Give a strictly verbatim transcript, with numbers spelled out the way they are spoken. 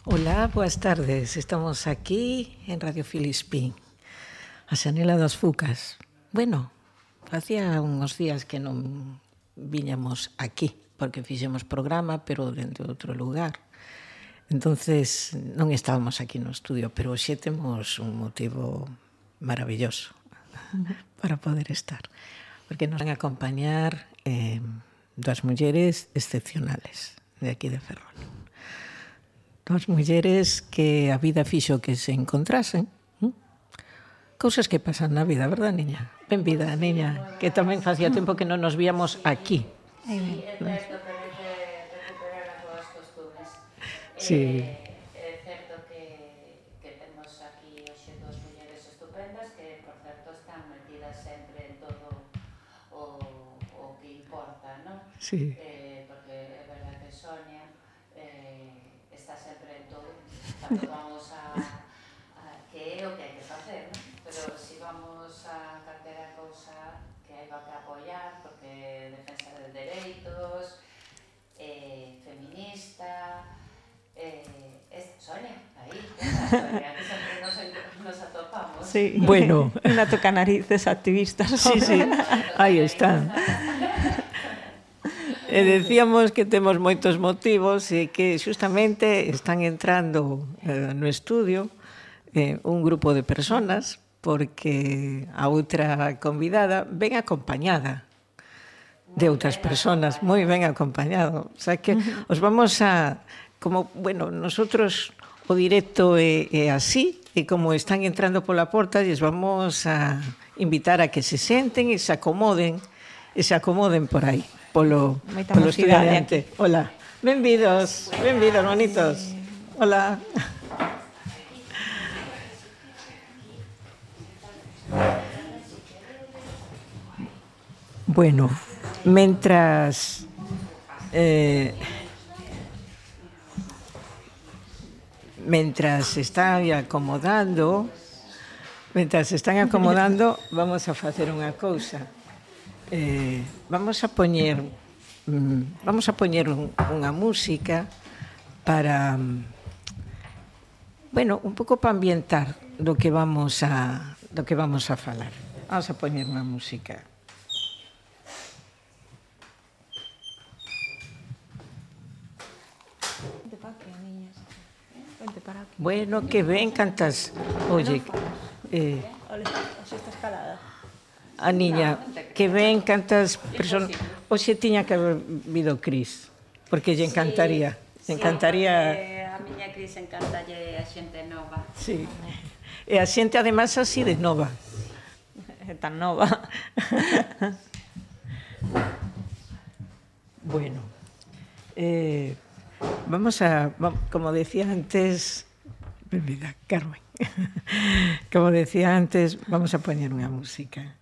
Ola, boas tardes. Estamos aquí en Radio Filispín, a Xanela das Fucas. Bueno, facía uns días que non viñamos aquí, porque fixemos programa, pero dentro de outro lugar. Entonces, non estábamos aquí no estudio, pero hoxe temos un motivo maravilloso para poder estar, porque nos van a acompañar eh, dos mulleres excepcionales de aquí de Ferrol. Dos mulleres que a vida fixo que se encontrasen. ¿Mm? Cousas que pasan na vida, verdad, niña? Benvida, niña, que tamén facía tempo que non nos víamos aquí. Sí, é certo, pero que recuperar as boas costumes. Sí. É certo que, que temos aquí hoxe dos mulleres estupendas que, por certo, están metidas sempre en todo o, o que importa, non? Sí. Eh, porque é verdad que Sonia eh, está sempre en todo, cando vamos a, a que é o que hai que facer, non? Pero si vamos a calquera cousa que hai que apoiar, porque defensa de dereitos, eh, feminista, eh, es Sonia, aí, Sonia, que sempre nos, nos atopamos. Sí, Bueno. Una toca narices activistas. Sí, sí, aí está. E decíamos que temos moitos motivos e que xustamente están entrando eh, no estudio eh, un grupo de personas porque a outra convidada ven acompañada de outras personas, moi ben acompañado. O sea que os vamos a, como, bueno, nosotros o directo é, é así, e como están entrando pola porta, lles vamos a invitar a que se senten e se acomoden, e se acomoden por aí, polo, Moita polo estudio mocidade adiante. Hola, benvidos, benvidos, bonitos. Hola. Bueno, mentras eh, mentras se están acomodando, mentras se están acomodando, vamos a facer unha cousa. Eh, vamos a poñer mm, vamos a poñer un, unha música para bueno, un pouco para ambientar do que vamos a do que vamos a falar. Vamos a poñer unha música. Bueno, que ben cantas. Oye, eh, a niña, que ben cantas person... Oxe tiña que haber vido Cris, porque lle encantaría. Sí, encantaría. Sí, a miña Cris encantalle a xente nova. Sí. E a xente además así de nova. É tan nova. Bueno, eh, vamos a, como decía antes, benvida, Carmen. Como decía antes, vamos a poñer unha música.